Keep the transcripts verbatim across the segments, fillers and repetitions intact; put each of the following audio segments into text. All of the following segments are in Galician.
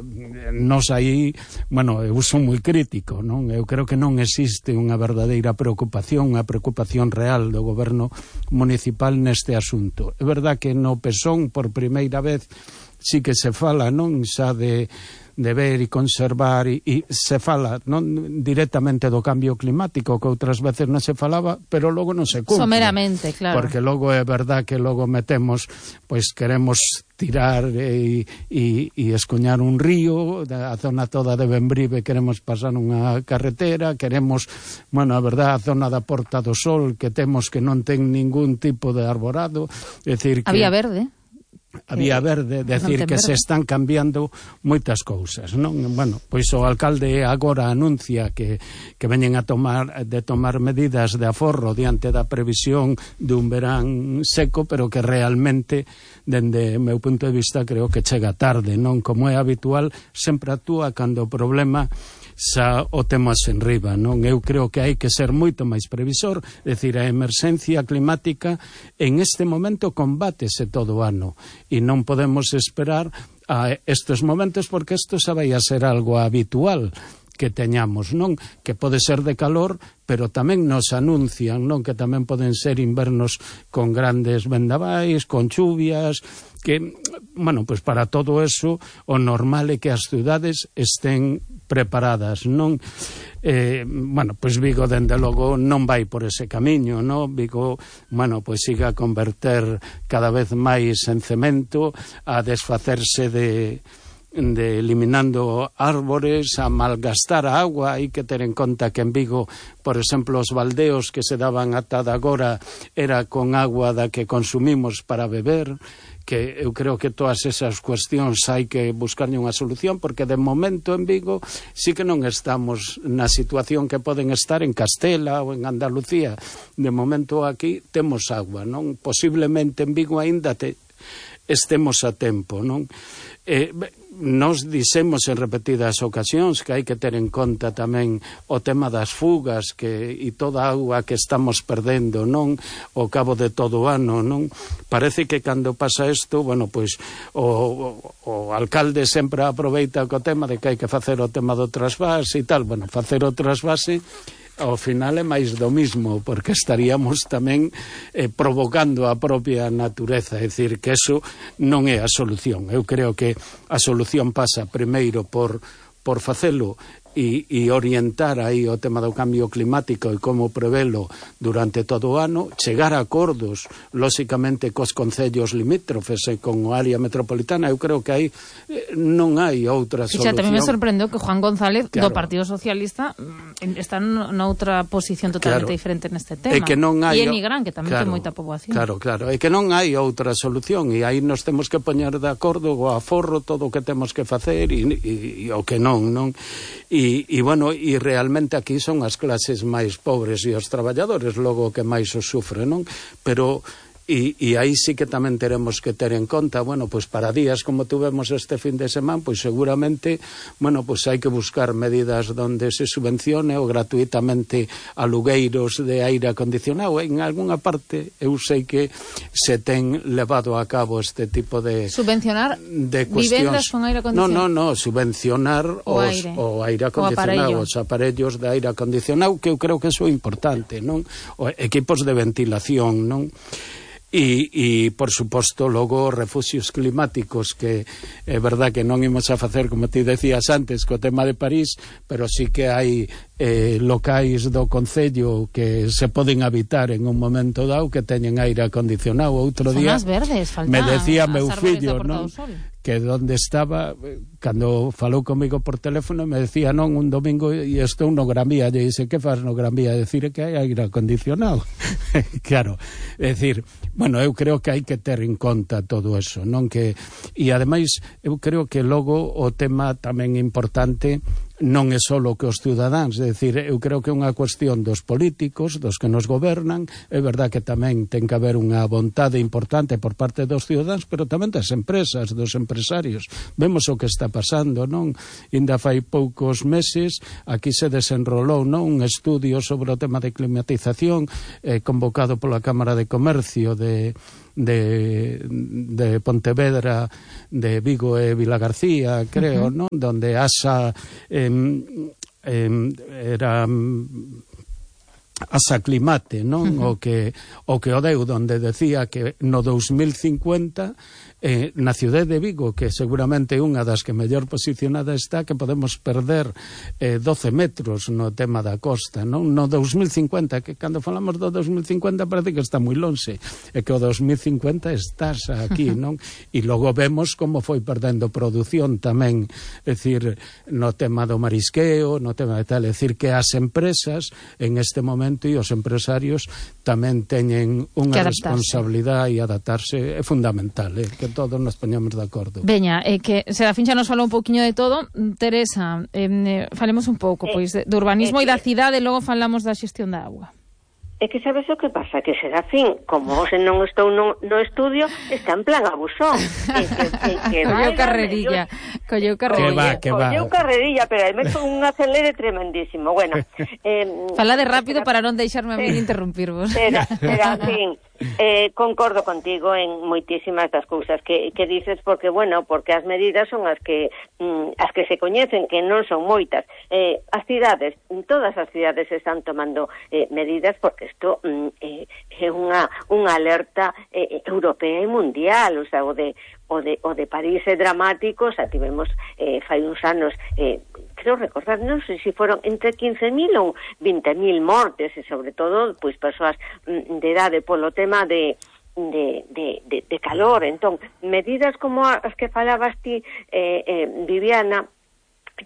nos aí, bueno, eu son moi crítico, non? Eu creo que non existe unha verdadeira preocupación, unha preocupación real do goberno municipal neste asunto. É verdad que no Pesón, por primeira vez, sí que se fala, non, xa de de ver e conservar e, e se fala non directamente do cambio climático, que outras veces non se falaba, pero logo non se cumpre. Someramente, claro. Porque logo é verdad que logo metemos, pois queremos tirar e, e, e escoñar un río, a zona toda de Bembrive queremos pasar unha carretera, queremos, bueno, a verdad, a zona da Porta do Sol que temos que non ten ningún tipo de arborado, é dicir que... Había verde. A vía verde, decir que se están cambiando moitas cousas, non? Bueno, pois o alcalde agora anuncia que, que veñen a tomar de tomar medidas de aforro diante da previsión dun verán seco, pero que realmente, dende o meu punto de vista, creo que chega tarde, non? Como é habitual, sempre actúa cando o problema xa o temos en riba, non? Eu creo que hai que ser moito máis previsor, é dicir, a emerxencia climática en este momento combátese todo o ano e non podemos esperar a estes momentos porque isto xa vai a ser algo habitual que teñamos, non? Que pode ser de calor, pero tamén nos anuncian, non? Que tamén poden ser invernos con grandes vendavais, con chuvias, que, bueno, pois para todo eso o normal é que as cidades estén preparadas, non? Eh, bueno, pois Vigo, dende logo, non vai por ese camiño, non? Vigo, bueno, pois siga a converter cada vez máis en cemento, a desfacerse de... de eliminando árbores, a malgastar a agua. Hai que ter en conta que en Vigo, por exemplo, os baldeos que se daban ata de agora era con agua da que consumimos para beber, que eu creo que todas esas cuestións hai que buscarlle unha solución, porque de momento en Vigo sí que non estamos na situación que poden estar en Castela ou en Andalucía. De momento aquí temos agua, non? Posiblemente en Vigo aínda te estemos a tempo, non? Eh, nos dixemos en repetidas ocasións que hai que ter en conta tamén o tema das fugas que e toda a auga que estamos perdendo, non? Ao cabo de todo o ano, non? Parece que cando pasa isto, bueno, pois o, o, o alcalde sempre aproveita co tema de que hai que facer o tema do trasvase e tal. Bueno, facer o trasvase ao final é máis do mismo, porque estaríamos tamén eh, provocando a propia natureza, é dicir, que eso non é a solución. Eu creo que a solución pasa primeiro por, por facelo e, e orientar aí o tema do cambio climático e como prevelo durante todo o ano, chegar a acordos, lóxicamente, cos concellos limítrofes e con o área metropolitana. Eu creo que aí eh, non hai outra solución. E xa tamén me sorprendeu que Juan González, claro, do Partido Socialista, está noutra posición totalmente claro, diferente neste tema. E que non hai, e en Nigrán, que tamén claro, ten moita poboación. Claro, claro, é que non hai outra solución e aí nos temos que poñer de acordo o aforro todo o que temos que facer e, e, e o que non, non? E, e, bueno, e realmente aquí son as clases máis pobres e os traballadores logo que máis os sufren, non? Pero E, e aí sí que tamén teremos que ter en conta, bueno, pois para días como tuvemos este fin de semana, pois seguramente, bueno, pois hai que buscar medidas donde se subvencione ou gratuitamente alugueiros de aire acondicionado. En algunha parte eu sei que se ten levado a cabo este tipo de subvencionar de vivendas con aire acondicionado. No, no, no, subvencionar o os, aire, o aire acondicionado, os aparellos de aire acondicionado, que eu creo que eso é importante, non? O equipos de ventilación, non? E, e, por suposto, logo refuxios climáticos, que é verdad que non imos a facer, como ti decías antes, co tema de París, pero sí que hai eh, locais do Concello que se poden habitar en un momento dado que teñen aire acondicionado. Outro día verdes, faltan, me decía meu fillo, non? Que donde estaba, cando falou comigo por teléfono, me decía, non, un domingo e estou no Gran Vía, e dice, que faz no Gran Vía? Decir que hai aire acondicionado. Claro, é dicir, bueno, eu creo que hai que ter en conta todo eso, non? Que, e ademais, eu creo que logo o tema tamén importante non é só que os cidadáns, é dicir, eu creo que é unha cuestión dos políticos, dos que nos gobernan. É verdad que tamén ten que haber unha vontade importante por parte dos cidadáns, pero tamén das empresas, dos empresarios. Vemos o que está pasando, non? Inda fai poucos meses aquí se desenrolou, non, un estudio sobre o tema de climatización eh, convocado pola Cámara de Comercio de de, de Pontevedra, de Vigo e Vilagarcía, creo, uh-huh. non? Donde Asa eh, eh, era Asa Climate, non? Uh-huh. O que o que o deu, donde decía que no dos mil cincuenta eh, na cidade de Vigo, que seguramente é unha das que mellor posicionada está, que podemos perder eh, doce metros no tema da costa, non? No dos mil cincuenta, que cando falamos do dos mil cincuenta parece que está moi lonxe, e que o dos mil cincuenta estás aquí, non? E logo vemos como foi perdendo produción tamén, é dicir, no tema do marisqueo, no tema de tal, é dicir, que as empresas en este momento e os empresarios tamén teñen unha responsabilidade e adaptarse é fundamental, eh, que todos nos poñamos de acordo. Veña, é eh, que Serafín xa nos falou un pouquiño de todo. Teresa, eh, falemos un pouco eh, pois de, de urbanismo e eh, da cidade, e logo falamos da xestión da auga. É que sabes o que pasa? Que Serafín, como hoxe non estou no, no estudio, está en plan abusón. E que, e que colleu carrerilla. Colleu carrerilla. Que va, que va. Colleu carrerilla, pero aí meto un acelere tremendísimo. Bueno, eh, fala de rápido para non deixarme a mí de interrumpirvos. Serafín, eh, concordo contigo en moitísimas das cousas que, que dices, porque, bueno, porque as medidas son as que mm, as que se coñecen, que non son moitas. Eh, as cidades, todas as cidades están tomando eh, medidas, porque isto mm, eh, é unha, unha alerta eh, europea e mundial, o sea, o de o de, o de París é dramático, o sea, tivemos eh, fai uns anos, eh, creo recordar, non sei se foron entre quince mil ou vinte mil mortes, e sobre todo, pois, persoas mm, de idade polo tema de De, de, de, de calor. Entón, medidas como as que falabas ti, eh, eh, Viviana,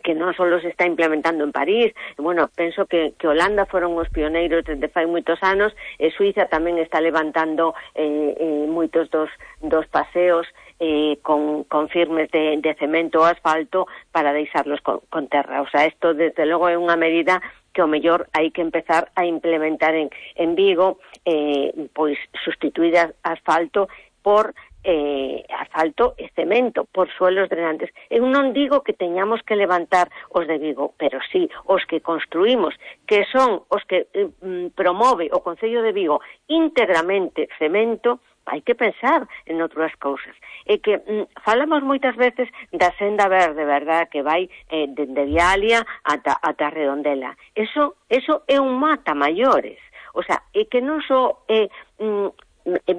que non só se está implementando en París, bueno, penso que, que Holanda foron os pioneiros desde fai moitos anos, e Suiza tamén está levantando eh, eh, moitos dos, dos paseos eh, con, con firmes de, de cemento ou asfalto para deixarlos con, con terra. O sea, isto desde logo é unha medida que o mellor hai que empezar a implementar en, en Vigo, eh, pois sustituir asfalto por eh, asfalto e cemento, por suelos drenantes. Eu non digo que teñamos que levantar os de Vigo, pero sí os que construímos, que son os que eh, promove o Concello de Vigo íntegramente cemento, hai que pensar en outras cousas. É que mm, falamos moitas veces da senda verde, verdad, que vai eh, dende Vialia ata, ata Redondela. Eso, eso é un mata maiores. O sea, é que non só é mm,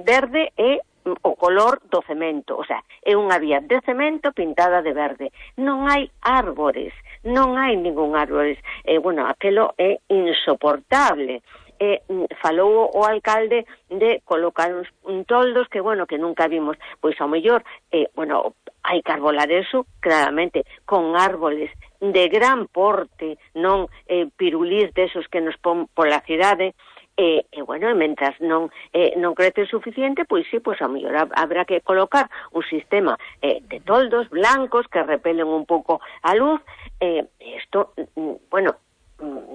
verde, é o color do cemento. O sea, é unha vía de cemento pintada de verde. Non hai árbores, non hai ningún árbores. Eh, bueno, aquelo é insoportable. Eh, falou o alcalde de colocar uns un toldos que, bueno, que nunca vimos, pois ao mellor, eh, bueno, hai que arbolar eso, claramente, con árboles de gran porte, non eh, pirulís desos que nos pon pola cidade, e, e bueno, e mentras non eh, non crece suficiente, pois sí, pois ao mellor habrá que colocar un sistema eh, de toldos blancos que repelen un pouco a luz. Eh, isto, bueno,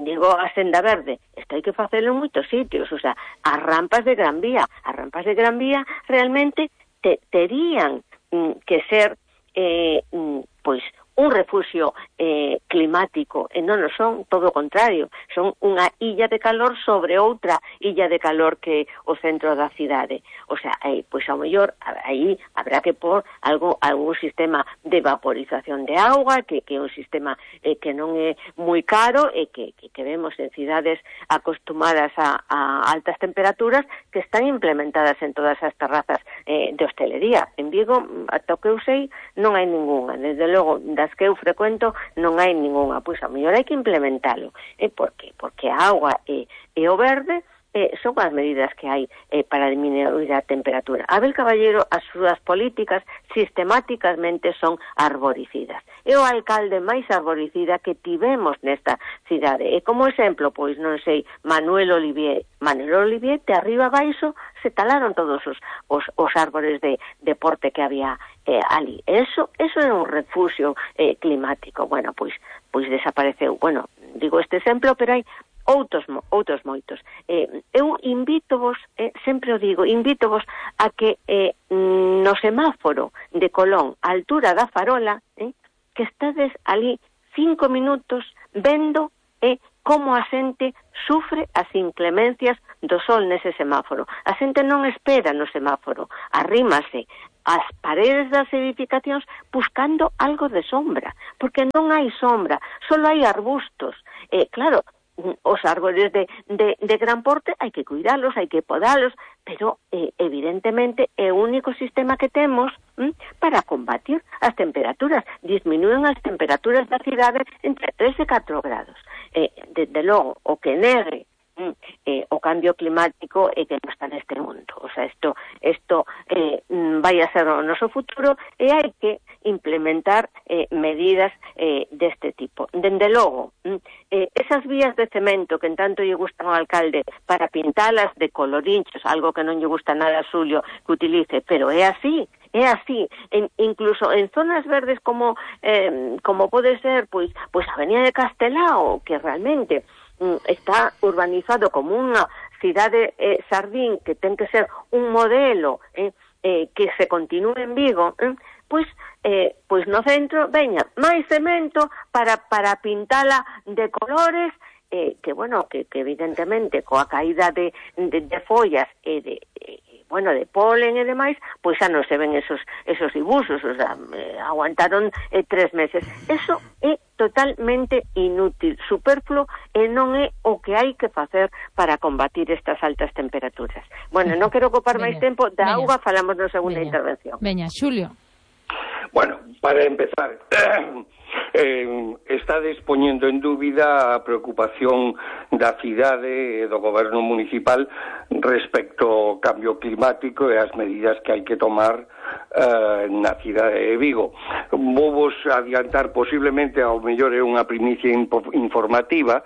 digo a senda verde, isto hai que facelo en moitos sitios, o sea, as rampas de Gran Vía, as rampas de Gran Vía realmente te, terían mm, que ser eh, mm, pois un refugio eh, climático, e non o son, todo o contrario, son unha illa de calor sobre outra illa de calor que o centro da cidade. O sea, aí, pois ao mellor, aí habrá que pôr algo, algún sistema de vaporización de auga, que, que é un sistema eh, que non é moi caro, e que, que, que vemos en cidades acostumadas a, a altas temperaturas, que están implementadas en todas as terrazas eh, de hostelería. En Vigo, ata o que eu sei, non hai ninguna. Desde logo, das que eu frecuento, non hai ninguna. Pois a mellor hai que implementalo. E por qué? Porque a auga e, e o verde eh, son as medidas que hai eh, para diminuir a temperatura. Abel Caballero, as súas políticas sistemáticamente son arboricidas. É o alcalde máis arboricida que tivemos nesta cidade. E como exemplo, pois non sei, Manuel Olivier. Manuel Olivier, de arriba abaixo, se talaron todos os, os, os árbores de, de porte que había eh, ali. Eso, eso é un refugio eh, climático. Bueno, pois, pois desapareceu. Bueno, digo este exemplo, pero hai outros outros moitos. Eh, eu invítovos, eh, sempre o digo, invítovos a que eh, no semáforo de Colón, a altura da farola, eh, que estades ali cinco minutos vendo eh, como a xente sufre as inclemencias do sol nese semáforo. A xente non espera no semáforo, arrímase as paredes das edificacións buscando algo de sombra, porque non hai sombra, só hai arbustos. Eh, claro, os árboles de, de, de gran porte hai que cuidalos, hai que podalos, pero eh, evidentemente é o único sistema que temos hm, para combatir as temperaturas. Disminúen as temperaturas da cidade entre tres e catro grados. Eh, desde logo, o que negue hm, eh, o cambio climático é que non está neste mundo. O sea, isto, isto eh, vai a ser o noso futuro e hai que implementar eh, medidas eh, deste tipo. Dende logo, eh, esas vías de cemento que en tanto lle gustan ao alcalde para pintalas de colorinchos, algo que non lle gusta nada a Xulio que utilice, pero é así, é así, en, incluso en zonas verdes como eh, como pode ser pois, pois a Avenida de Castelao, que realmente mm, está urbanizado como unha cidade eh, sardín que ten que ser un modelo eh, eh, que se continúe en Vigo, eh, pois eh, pois no centro veña máis cemento para para pintala de colores eh, que bueno, que, que evidentemente coa caída de, de, de follas e de eh, bueno, de polen e demais, pois xa non se ven esos esos dibuxos, o sea, eh, aguantaron eh, tres meses. Eso é totalmente inútil, superfluo, e non é o que hai que facer para combatir estas altas temperaturas. Bueno, non quero ocupar máis tempo, da auga falamos na segunda Veña. intervención. Veña, Xulio. Bueno, para empezar, eh, está dispoñendo en dúbida a preocupación da cidade e do goberno municipal respecto ao cambio climático e as medidas que hai que tomar eh, na cidade de Vigo. Vou vos adiantar, posiblemente ao mellor é unha primicia informativa,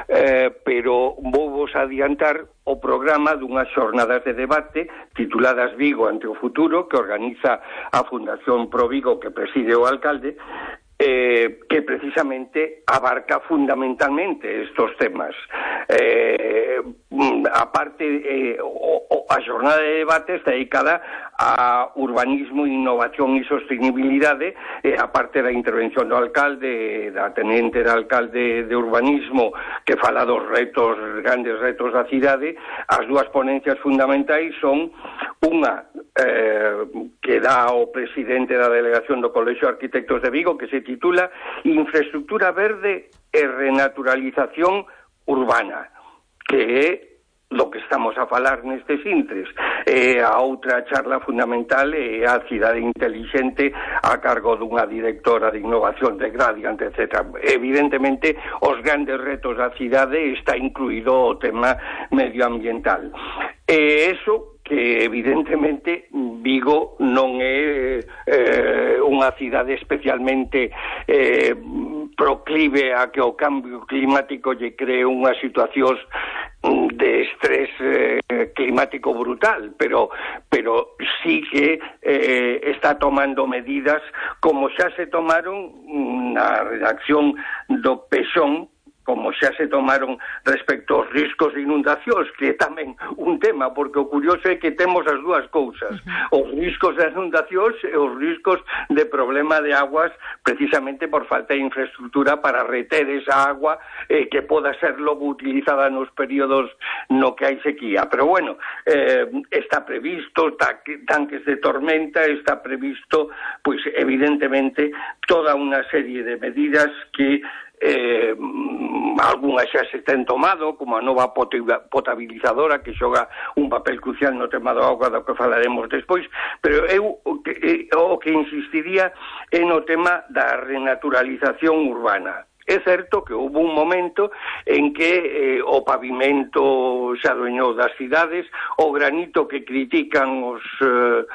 eh, pero vou vos adiantar o programa dunhas xornadas de debate tituladas Vigo ante o futuro, que organiza a Fundación Pro Vigo, que preside o alcalde, eh, que precisamente abarca fundamentalmente estos temas. Eh, aparte, eh, o, o, a xornada de debate está dedicada a urbanismo, innovación e sostenibilidade, eh, aparte da intervención do alcalde, da tenente do alcalde de urbanismo, que fala dos retos, grandes retos da cidade. As dúas ponencias fundamentais son unha eh, que dá o presidente da delegación do Colexio de Arquitectos de Vigo, que se titula Infraestructura Verde e Renaturalización Urbana, que é do que estamos a falar nestes intres. E a outra charla fundamental é a cidade intelixente a cargo dunha directora de innovación de Gradiant, etcétera. Evidentemente, os grandes retos da cidade está incluído o tema medioambiental. E eso que evidentemente Vigo non é eh, unha cidade especialmente eh, proclive a que o cambio climático lle cree unhas situacións de estrés eh, climático brutal, pero pero sí que eh, está tomando medidas como xa se tomaron na redacción do Pexón, como xa se tomaron respecto aos riscos de inundacións, que é tamén un tema, porque o curioso é que temos as dúas cousas, os riscos de inundacións e os riscos de problema de aguas, precisamente por falta de infraestructura para reter esa agua eh, que poda ser logo utilizada nos períodos no que hai sequía. Pero bueno, eh, está previsto tanques de tormenta, está previsto, pois evidentemente, toda unha serie de medidas que Eh, algunhas xa se ten tomado, como a nova potabilizadora que xoga un papel crucial no tema do auga, do que falaremos despois, pero eu o que, eh, o que insistiría é no tema da renaturalización urbana. É certo que houve un momento en que eh, o pavimento xa adueñou das cidades, o granito que critican os eh,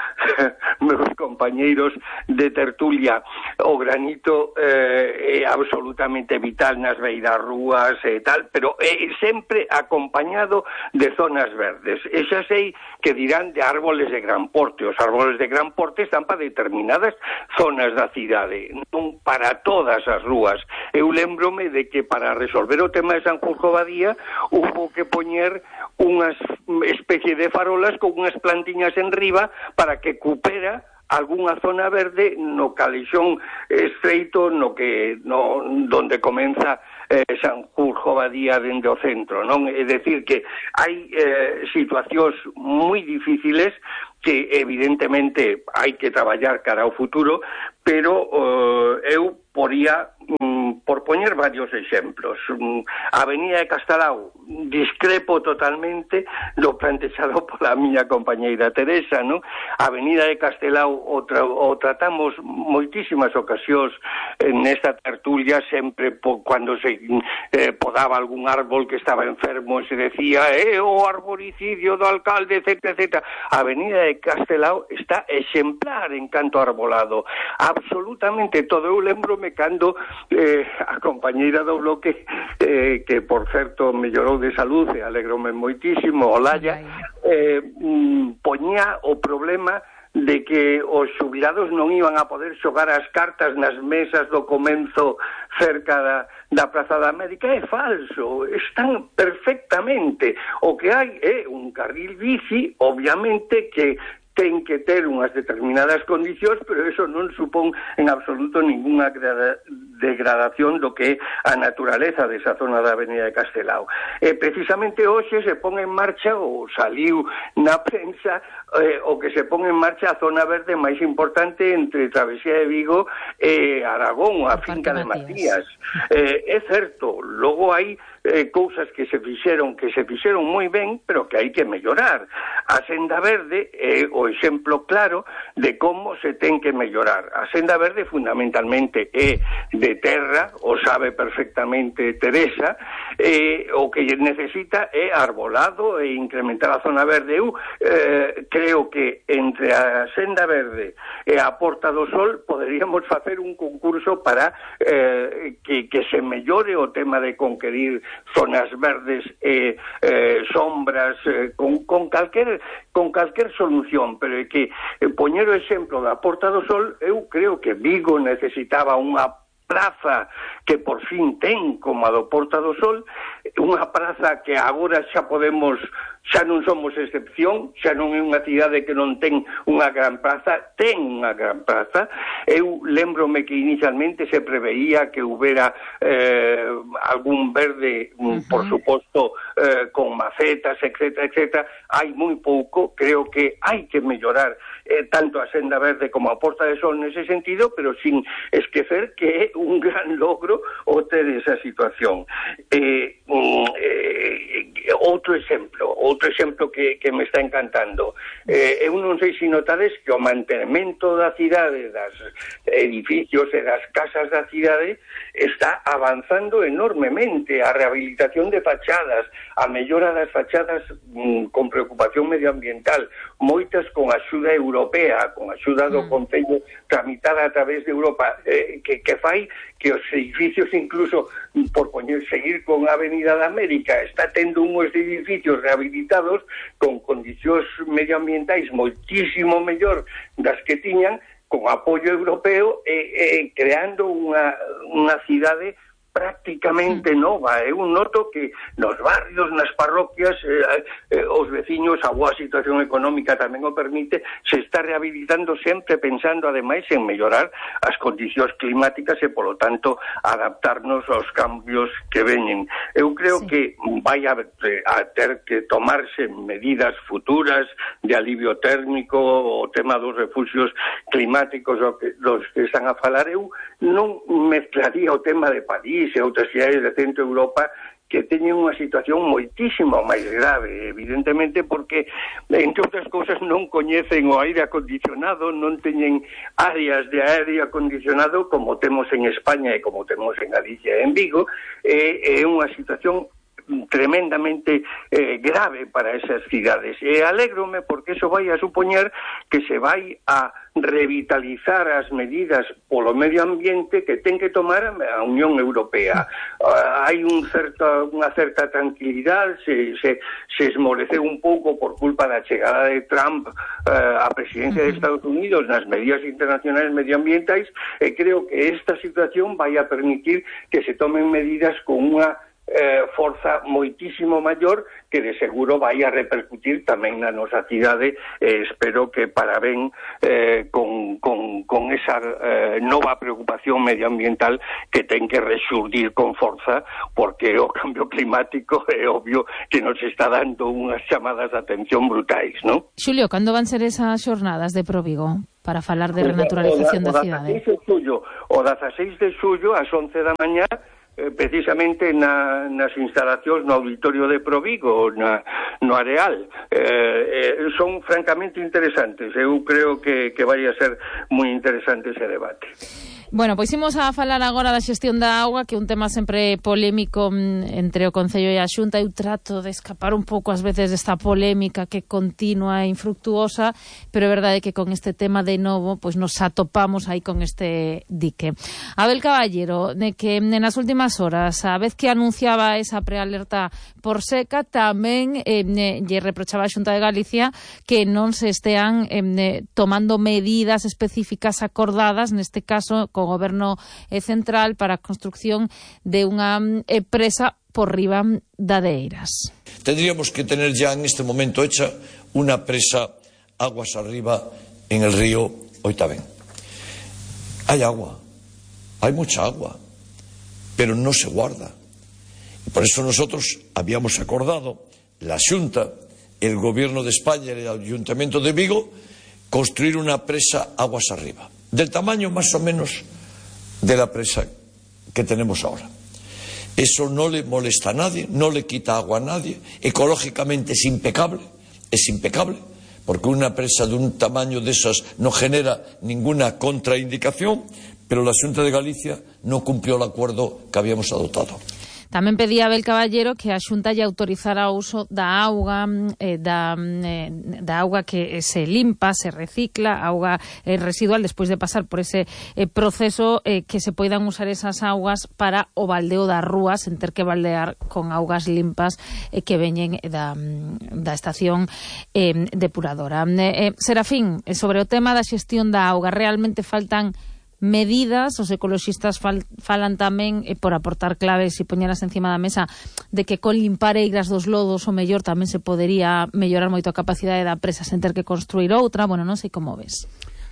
meus compañeiros de tertulia, o granito eh, é absolutamente vital nas beiras rúas e tal, pero é sempre acompañado de zonas verdes. E xa sei que dirán de árboles de gran porte. Os árboles de gran porte están para determinadas zonas da cidade, non para todas as rúas. Eu lembrome de que para resolver o tema de Sanjurjo Badía hubo que poñer unha especie de farolas con unhas plantiñas en riba para que cupera algunha zona verde no calexón estreito no que no donde comeza eh, Sanjurjo Badía dende o centro, non? É dicir que hai eh, situacións moi difíciles que evidentemente hai que traballar cara ao futuro, pero eh, eu poría mm, por poñer varios exemplos. Mm, a Avenida de Castelao, discrepo totalmente do plantexado pola miña compañeira Teresa, non? A Avenida de Castelao o, tra o tratamos moitísimas ocasións eh, nesta tertulia, sempre po cando se eh, podaba algún árbol que estaba enfermo, se decía, eh, o arboricidio do alcalde, etcétera, etcétera. A Avenida de Castelao está exemplar en canto arbolado, absolutamente todo. Eu lembrome cando eh, a compañeira do bloque eh, que por certo mellorou de salud e alegrome moitísimo, Olaya, eh, mm, poñía o problema de que os xubilados non iban a poder xogar as cartas nas mesas do comenzo cerca da, da Praza da América. É falso, están perfectamente. O que hai é un carril bici, obviamente, que ten que ter unhas determinadas condicións, pero eso non supón en absoluto ninguna degradación do que é a naturaleza desa zona da Avenida de Castelao. E precisamente hoxe se pon en marcha, ou saliu na prensa, eh, o que se pon en marcha a zona verde máis importante entre Travesía de Vigo e Aragón, a finca de Matías. Eh, é certo, logo hai eh, cousas que se fixeron, que se fixeron moi ben, pero que hai que mellorar. A senda verde é o exemplo claro de como se ten que mellorar. A senda verde fundamentalmente é de terra, o sabe perfectamente Teresa, eh, o que necesita é arbolado e incrementar a zona verde. Eu eh, creo que entre a senda verde e a Porta do Sol poderíamos facer un concurso para eh, que, que se mellore o tema de conquerir zonas verdes e eh, sombras eh, con, con calquer con calquer solución, pero é que eh, poñer o exemplo da Porta do Sol, eu creo que Vigo necesitaba unha praza que por fin ten como a do Porta do Sol, unha praza que agora xa podemos, xa non somos excepción, xa non é unha cidade que non ten unha gran praza, ten unha gran praza. Eu lembrome que inicialmente se preveía que houbera eh, algún verde, uh-huh. por suposto, eh, con macetas, etcétera, etcétera. Hai moi pouco, creo que hai que mellorar eh, tanto a senda verde como a Porta de Sol nese sentido, pero sin esquecer que é un gran logro o ter esa situación. Eh, eh, outro exemplo, outro exemplo que, que me está encantando. Eh, eu non sei se notades que o mantenimento da cidade, das edificios e das casas da cidade está avanzando enormemente. A rehabilitación de fachadas, a mellora das fachadas mm, con preocupación medioambiental, moitas con axuda europea, con axuda do Concello tramitada a través de Europa, eh, que, que fai que os edificios, incluso por poñer, seguir con a Avenida da América, está tendo unhos edificios rehabilitados con condicións medioambientais moitísimo mellor das que tiñan, con apoio europeo e, e creando unha, unha cidade prácticamente nova. Eu noto que nos barrios, nas parroquias, eh, eh, os veciños, a boa situación económica tamén o permite, se está rehabilitando sempre pensando ademais en mellorar as condicións climáticas e, polo tanto, adaptarnos aos cambios que veñen. Eu creo sí. que vai a, a ter que tomarse medidas futuras de alivio térmico, o tema dos refugios climáticos dos que están a falar. Eu non mezclaría o tema de París e outras cidades de Centro Europa que teñen unha situación moitísimo máis grave, evidentemente porque, entre outras cousas, non coñecen o aire acondicionado, non teñen áreas de aire acondicionado como temos en España e como temos en Galicia e en Vigo. É, é unha situación tremendamente eh, grave para esas cidades. E alégrome porque eso vai a supoñer que se vai a revitalizar as medidas polo medio ambiente que ten que tomar a Unión Europea. Uh, hai un certa, unha certa tranquilidade, se, se, se esmoreceu un pouco por culpa da chegada de Trump uh, á presidencia de Estados Unidos nas medidas internacionais medioambientais, e creo que esta situación vai a permitir que se tomen medidas con unha eh, forza moitísimo maior que de seguro vai a repercutir tamén na nosa cidade, e eh, espero que para ben eh, con, con, con esa eh, nova preocupación medioambiental que ten que rexurdir con forza, porque o cambio climático é obvio que nos está dando unhas chamadas de atención brutais, non? Xulio, cando van ser esas xornadas de Provigo para falar de renaturalización da cidade? O dezaseis de xullo, ás once da mañá, precisamente na, nas instalacións no auditorio de Provigo, na, no Areal. Eh, eh, son francamente interesantes. Eu creo que, que vai a ser moi interesante ese debate. Bueno, pois imos a falar agora da xestión da auga, que é un tema sempre polémico entre o Concello e a Xunta. Eu trato de escapar un pouco ás veces desta polémica que continua e infructuosa, pero é verdade que con este tema de novo pois nos atopamos aí con este dique. Abel Caballero, de que nas últimas horas, a vez que anunciaba esa prealerta por seca, tamén eh, lle reprochaba a Xunta de Galicia que non se estean eh, tomando medidas específicas acordadas, neste caso co Goberno Central, para a construcción de unha eh, presa por riba da de Eiras. Tendríamos que tener ya en este momento hecha una presa aguas arriba en el río Oitavén. Hay agua, hay mucha agua, pero no se guarda. Y por eso nosotros habíamos acordado, la Xunta, el Gobierno de España y el Ayuntamiento de Vigo, construir una presa aguas arriba, del tamaño más o menos de la presa que tenemos ahora. Eso no le molesta a nadie, no le quita agua a nadie, ecológicamente es impecable, es impecable, porque una presa de un tamaño de esas no genera ninguna contraindicación, pero la Xunta de Galicia no cumplió el acuerdo que habíamos adoptado. Tamén pedía Abel Caballero que a Xunta lle autorizara o uso da auga eh, da, eh, da auga que se limpa, se recicla, auga eh, residual, despois de pasar por ese eh, proceso, eh, que se poidan usar esas augas para o baldeo das rúas, en ter que baldear con augas limpas eh, que veñen da, da estación eh, depuradora. Eh, eh, Serafín, sobre o tema da xestión da auga, realmente faltan medidas, os ecoloxistas fal, falan tamén eh, por aportar claves e poñeras encima da mesa de que con limpar eiras dos lodos o mellor tamén se podería mellorar moito a capacidade da presa sen ter que construir outra. Bueno, non sei como ves.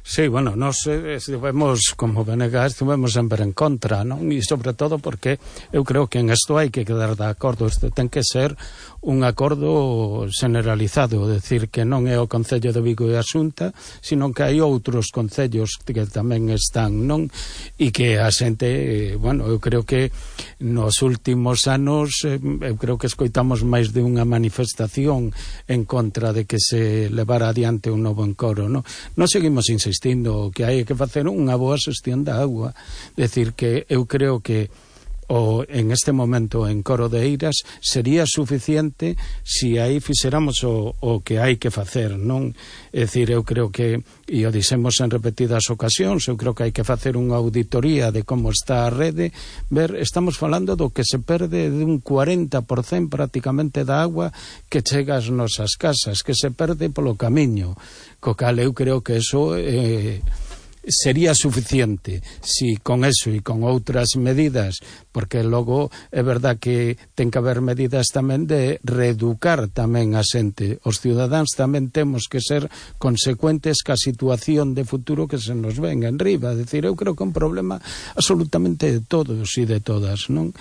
Sí, bueno, nos estivemos, como Venegas, estivemos sempre en contra, non? E sobre todo porque eu creo que en isto hai que quedar de acordo. Isto ten que ser un acordo generalizado, decir que non é o Concello de Vigo e a Xunta, sino que hai outros concellos que tamén están, non? E que a xente, bueno, eu creo que nos últimos anos, eu creo que escoitamos máis de unha manifestación en contra de que se levara adiante un novo encoro, non? Non seguimos insistindo que hai que facer unha boa xestión da agua, decir que eu creo que o, en este momento en Coro de Eiras sería suficiente se aí fixéramos o, o que hai que facer, non? É dicir, eu creo que, e o dixemos en repetidas ocasións, eu creo que hai que facer unha auditoría de como está a rede, ver, estamos falando do que se perde de un cuarenta por cento prácticamente da agua que chega ás nosas casas, que se perde polo camiño, co cal eu creo que eso eh, sería suficiente si con eso e con outras medidas, porque logo é verdad que ten que haber medidas tamén de reeducar tamén a xente. Os cidadáns tamén temos que ser consecuentes ca situación de futuro que se nos ven en riba. É dicir, eu creo que é un problema absolutamente de todos e de todas, non?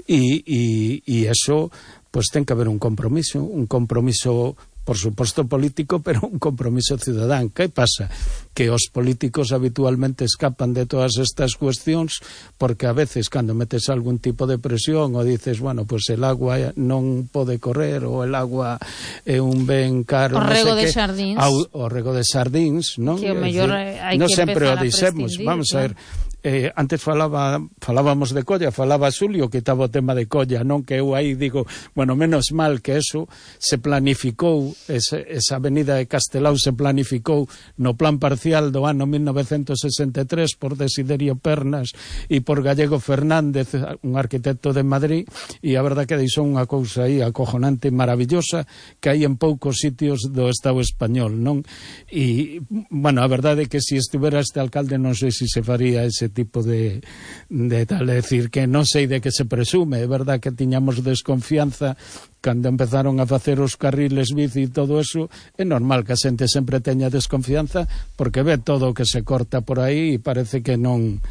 E, e, e eso, pois ten que haber un compromiso, un compromiso por suposto político, pero un compromiso cidadán. Que pasa? Que os políticos habitualmente escapan de todas estas cuestións porque a veces cando metes algún tipo de presión ou dices, bueno, pues el agua non pode correr ou el agua é un ben caro, o rego de xardíns, o rego de xardíns, non? Que o mellor hai non que sempre o empezar a dixemos, prescindir, vamos a ver. Claro. Eh, antes falaba falábamos de Colla, falaba Xulio que estaba o tema de Colla, non? Que eu aí digo, bueno, menos mal que eso se planificou, ese, esa avenida de Castelao se planificou no plan parcial do ano mil novecentos sesenta e tres por Desiderio Pernas e por Gallego Fernández, un arquitecto de Madrid, e a verdad que deixou unha cousa aí acojonante, maravillosa, que hai en poucos sitios do Estado español, non? E, bueno, a verdade é que se si estivera este alcalde non sei se se faría ese tipo de, de tal, é dicir, que non sei de que se presume, é verdad que tiñamos desconfianza cando empezaron a facer os carriles bici e todo eso, é normal que a xente sempre teña desconfianza porque ve todo o que se corta por aí e parece que non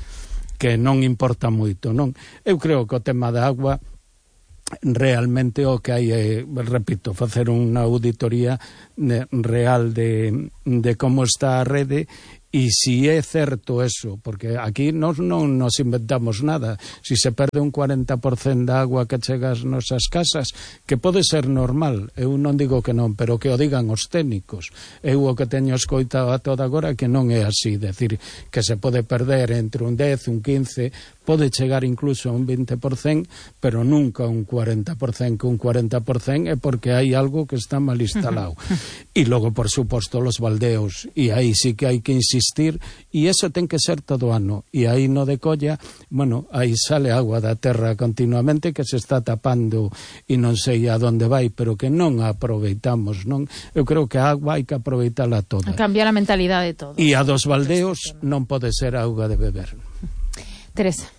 que non importa moito, non? Eu creo que o tema da agua realmente o que hai é, repito, facer unha auditoría real de, de como está a rede e si é certo eso, porque aquí nos non nos inventamos nada. Si se perde un cuarenta por cento da agua que chega ás nosas casas, que pode ser normal, eu non digo que non, pero que o digan os técnicos. Eu o que teño escoitado a toda agora que non é así, decir, que se pode perder entre un dez, un quince, pode chegar incluso a un vinte por cento, pero nunca un cuarenta por cento, que un cuarenta por cento é porque hai algo que está mal instalado. E logo, por suposto, los baldeos, e aí sí que hai que insistir, e eso ten que ser todo ano, e aí no de Colla, bueno, aí sale agua da terra continuamente que se está tapando e non sei a donde vai, pero que non a aproveitamos, non? Eu creo que a agua hai que aproveitala toda. A cambiar a mentalidade de todo. E a dos baldeos non pode ser auga de beber. Teresa.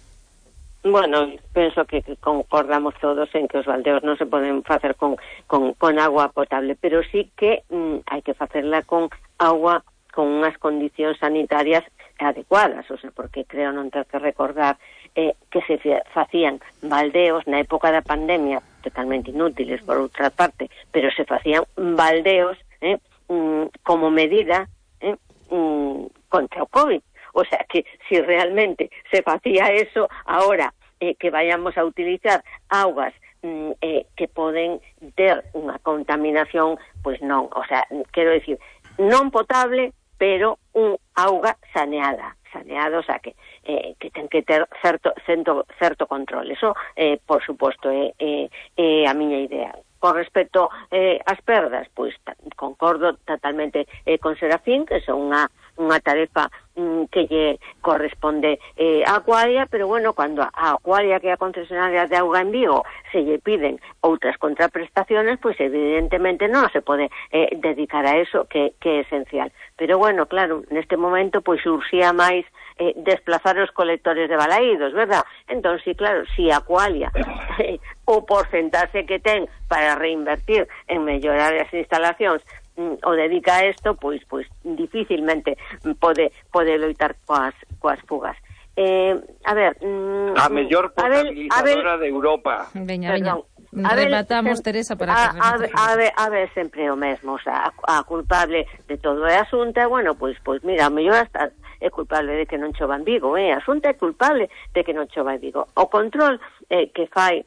Bueno, penso que concordamos todos en que os baldeos non se poden facer con, con, con agua potable, pero sí que mm, hai que facerla con agua con unhas condicións sanitarias adecuadas, o sea, porque creo non ter que recordar eh, que se facían baldeos na época da pandemia, totalmente inútiles por outra parte, pero se facían baldeos eh, mm, como medida eh, mm, contra o COVID. O sea, que si realmente se facía eso, ahora eh, que vayamos a utilizar augas mm, eh, que poden ter unha contaminación, pois non, o sea, quero decir, non potable, pero un auga saneada, saneado, o sea, que, eh, que ten que ter certo, certo, certo control. Eso, eh, por suposto, é eh, eh, eh, a miña idea. Con respecto eh, ás perdas, pois concordo totalmente eh, con Serafín, que son unha unha tarefa mm, que lle corresponde eh, a Acuaria, pero bueno, cando a Acuaria, que é a concesionaria de auga en Vigo, se lle piden outras contraprestaciones, pois evidentemente non se pode eh, dedicar a eso, que, que é esencial. Pero bueno, claro, neste momento pois urxía máis eh, desplazar os colectores de balaídos, verdad? Entón, sí, claro, si Acuaria eh, o porcentaxe que ten para reinvertir en mellorar as instalacións o dedica a isto, pois pois dificilmente pode pode loitar coas coas fugas. Eh, a ver, mm, a mellor potabilizadora de Europa. Veña, veña. Rematamos, Teresa, para a, que a, ver, a, ver, a ver, sempre o mesmo, o sea, a, a culpable de todo é a Xunta, bueno, pois pois mira, a mellor hasta é culpable de que non chova en Vigo, eh? A Xunta é culpable de que non chova en Vigo. O control eh, que fai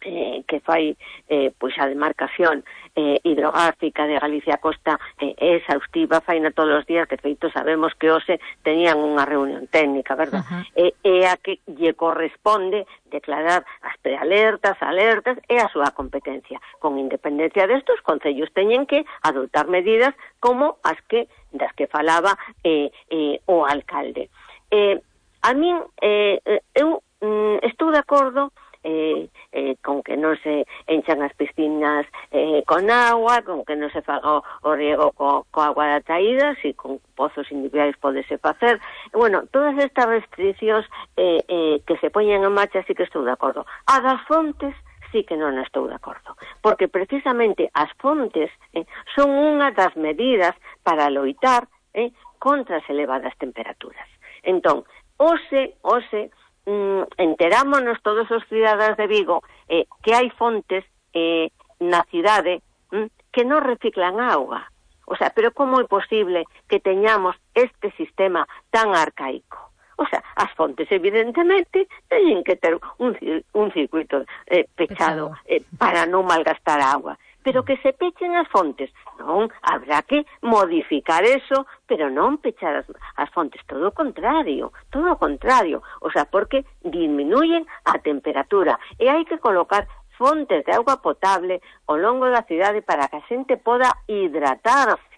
Eh, que fai eh, pois a demarcación eh, hidrográfica de Galicia Costa eh, é exhaustiva, faina todos os días, que feito sabemos que hoxe tenían unha reunión técnica, verdad? Uh-huh. E, e a que lle corresponde declarar as prealertas, alertas, é a súa competencia. Con independencia destos, concellos teñen que adoptar medidas como as que das que falaba eh, eh, o alcalde. Eh, a min, eh, eu mm, estou de acordo Eh, eh, con que non se enchan as piscinas eh, con agua, con que non se faga o, o riego co, co agua da traída, si con pozos individuais podese facer. Bueno, todas estas restriccións eh, eh, que se poñen en marcha, sí que estou de acordo. A das fontes sí que non estou de acordo, porque precisamente as fontes eh, son unha das medidas para loitar eh, contra as elevadas temperaturas. Entón, ose, ose Mm, enterámonos todos os cidadáns de Vigo eh, que hai fontes eh, na cidade mm, que non reciclan auga. O sea, pero como é posible que teñamos este sistema tan arcaico? O sea, as fontes evidentemente teñen que ter un, un circuito eh, pechado eh, para non malgastar agua. Pero que se pechen as fontes, non, habrá que modificar eso, pero non pechar as, as fontes, todo o contrario, todo o contrario, o sea, porque disminuyen a temperatura, e hai que colocar fontes de auga potable ao longo da cidade para que a xente poda hidratarse.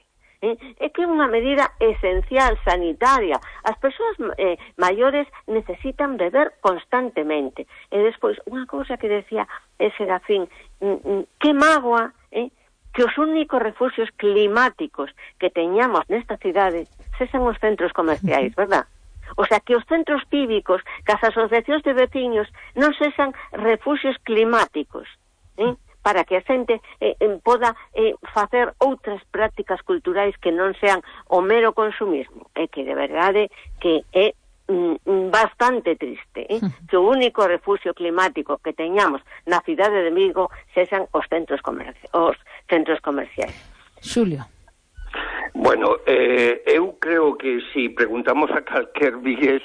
Eh, é que é unha medida esencial, sanitaria. As persoas eh, maiores necesitan beber constantemente. E despois, unha cousa que decía eh, Serafín, mm, mm, que mágoa eh, que os únicos refugios climáticos que teñamos nesta cidade sexan os centros comerciais, verdad? O sea, que os centros cívicos, que as asociacións de veciños non sexan refuxios climáticos, eh? para que a xente eh, poda eh, facer outras prácticas culturais que non sean o mero consumismo, e que de verdade que é bastante triste, eh? que o único refugio climático que teñamos na cidade de Vigo sexan os centros comerci os centros comerciais. Xulio. Bueno, eh, eu creo que si preguntamos a calquer vigués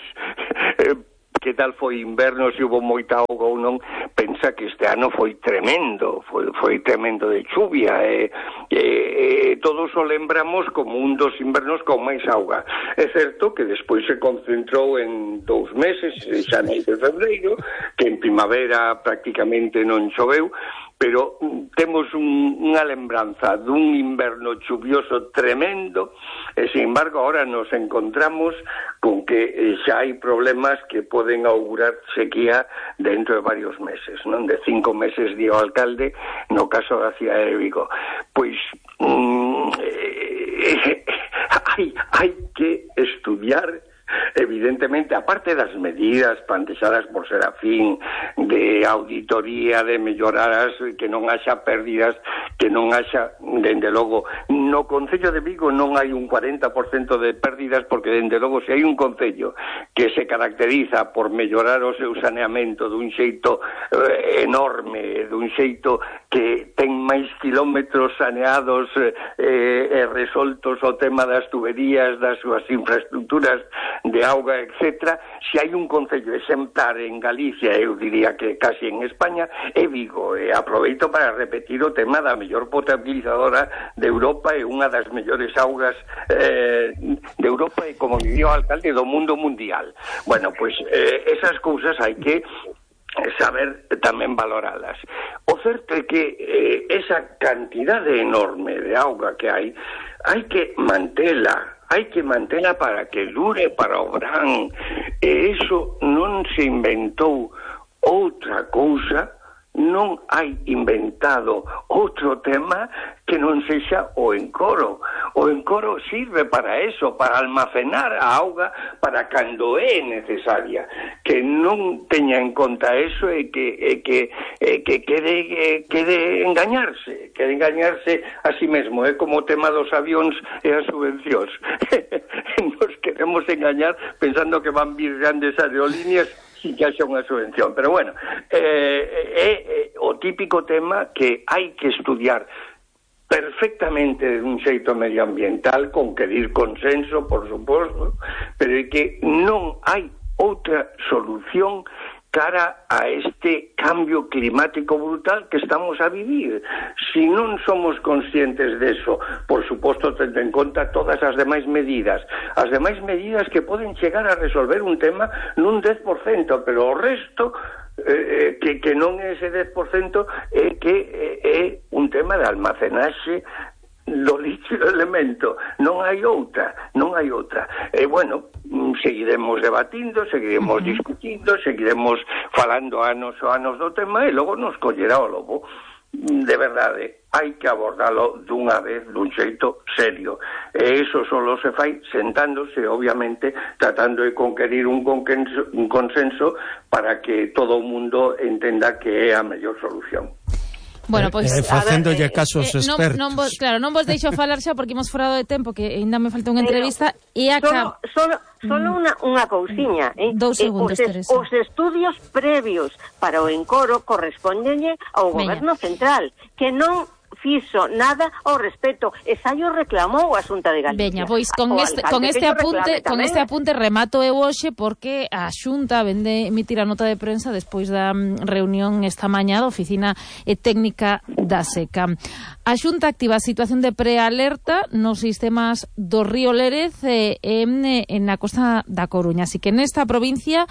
eh, que tal foi inverno, se hubo moita auga ou non, pensa que este ano foi tremendo, foi, foi tremendo de chuvia, e eh, eh, todos o lembramos como un dos invernos con máis auga. É certo que despois se concentrou en dous meses, xaneiro e febreiro, que en primavera prácticamente non choveu, pero temos un, unha lembranza dun inverno chuvioso tremendo, e sin embargo ahora nos encontramos con que xa hai problemas que poden augurar sequía dentro de varios meses, non? De cinco meses, di o alcalde, no caso da cidade de Vigo. Pois mm, eh, hai, hai que estudiar, evidentemente, aparte das medidas plantexadas por Serafín de auditoría, de mellorar, que non haxa pérdidas, que non haxa, dende logo, no Concello de Vigo non hai un cuarenta por cento de pérdidas, porque dende logo se hai un concello que se caracteriza por mellorar o seu saneamento dun xeito eh, enorme, dun xeito que ten máis kilómetros saneados eh, e resoltos o tema das tuberías, das súas infraestructuras de auga, etcétera. Se hai un concello exemplar en Galicia, eu diría que casi en España, é Vigo. E aproveito para repetir o tema da mellor potabilizadora de Europa e unha das mellores augas eh, de Europa e, como diría o alcalde, do mundo mundial. Bueno, pois eh, esas cousas hai que saber tamén valoralas. O certo é que eh, esa cantidade enorme de auga que hai, hai que mantela, hai que mantela para que dure para o verán, e iso non se inventou outra cousa, non hai inventado outro tema que non sexa o encoro. O encoro sirve para eso, para almacenar a auga para cando é necesaria. Que non teña en conta eso e que, e que, e que quede, e quede engañarse, quede engañarse a si mesmo. É como o tema dos avións e as subvencións. Nos queremos engañar pensando que van vir grandes aerolíneas sin que haxa unha subvención. Pero bueno, é eh, eh, eh, o típico tema que hai que estudiar perfectamente de un xeito medioambiental, con que dir consenso, por suposto, pero é que non hai outra solución cara a este cambio climático brutal que estamos a vivir. Si non somos conscientes deso, por suposto, tendo en conta todas as demais medidas, as demais medidas que poden chegar a resolver un tema nun dez por cento, pero o resto eh, que, que non é ese dez por cento é que é, é un tema de almacenaxe do líquido elemento. Non hai outra, non hai outra. E, bueno, seguiremos debatindo, seguiremos uh-huh. discutindo, seguiremos falando anos ou anos do tema e logo nos collerá o lobo. De verdade, hai que abordalo dunha vez, dun xeito serio. E iso solo se fai sentándose, obviamente, tratando de conquerir un consenso, un consenso para que todo o mundo entenda que é a mellor solución. Bueno, pois eh, facéndolle caso aos eh, expertos. Non, non vos, claro, non vos deixo falar xa porque imos forado de tempo, que ainda me falta unha entrevista e acá solo, solo, solo unha, unha cousiña, eh? Dous segundos, eh, os, Teresa. Os estudios previos para o encoro correspóndenlle ao goberno central, que non fixo nada ao respecto, e xa o reclamou a Xunta de Galicia. Veña, pois con este, con este apunte, con este apunte remato eu hoxe porque a Xunta vende emitir a nota de prensa despois da reunión esta mañá da Oficina Técnica da Seca. A Xunta activa a situación de prealerta nos sistemas do río Lérez e en, en na costa da Coruña, así que nesta provincia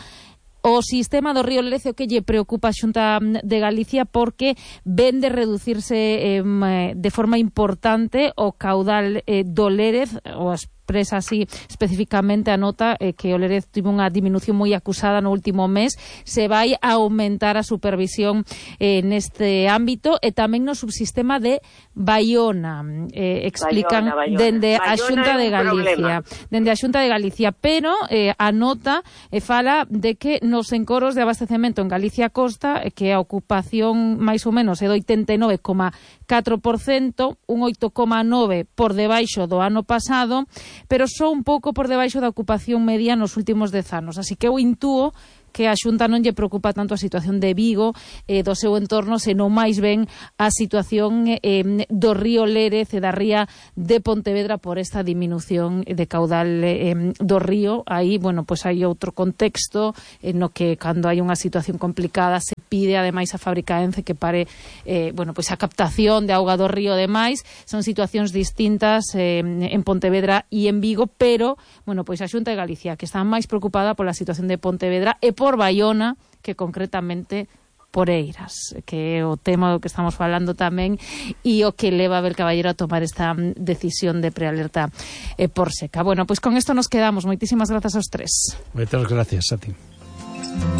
o sistema do río Lérez o que lle preocupa a Xunta de Galicia porque vende reducirse eh, de forma importante o caudal eh, do Lérez, ou as expresa así especificamente a nota eh, que o Lérez tivo unha diminución moi acusada no último mes, se vai a aumentar a supervisión eh, neste ámbito e tamén no subsistema de Baiona, eh, explican Baiona, Baiona. dende a Baiona Xunta é de un Galicia, problema. dende a Xunta de Galicia, pero eh, a nota eh, fala de que nos encoros de abastecemento en Galicia Costa, eh, que a ocupación máis ou menos é do oitenta e nove coma catro por cento, un oito coma nove por debaixo do ano pasado, pero só un pouco por debaixo da ocupación media nos últimos dez anos. Así que eu intúo que a Xunta non lle preocupa tanto a situación de Vigo e eh, do seu entorno, senón máis ben a situación eh, do río Lérez e da ría de Pontevedra por esta diminución de caudal eh, do río. Aí, bueno, pois hai outro contexto en no que cando hai unha situación complicada se pide ademais a fábrica Ence que pare eh, bueno, pois a captación de auga do río demais. Son situacións distintas eh, en Pontevedra e en Vigo, pero, bueno, pois a Xunta de Galicia que está máis preocupada pola situación de Pontevedra e por Baiona que concretamente por Eiras, que é o tema do que estamos falando tamén e o que leva a Abel Caballero a tomar esta decisión de prealerta eh, por seca. Bueno, pois con isto nos quedamos. Moitísimas grazas aos tres. Moitas gracias a ti.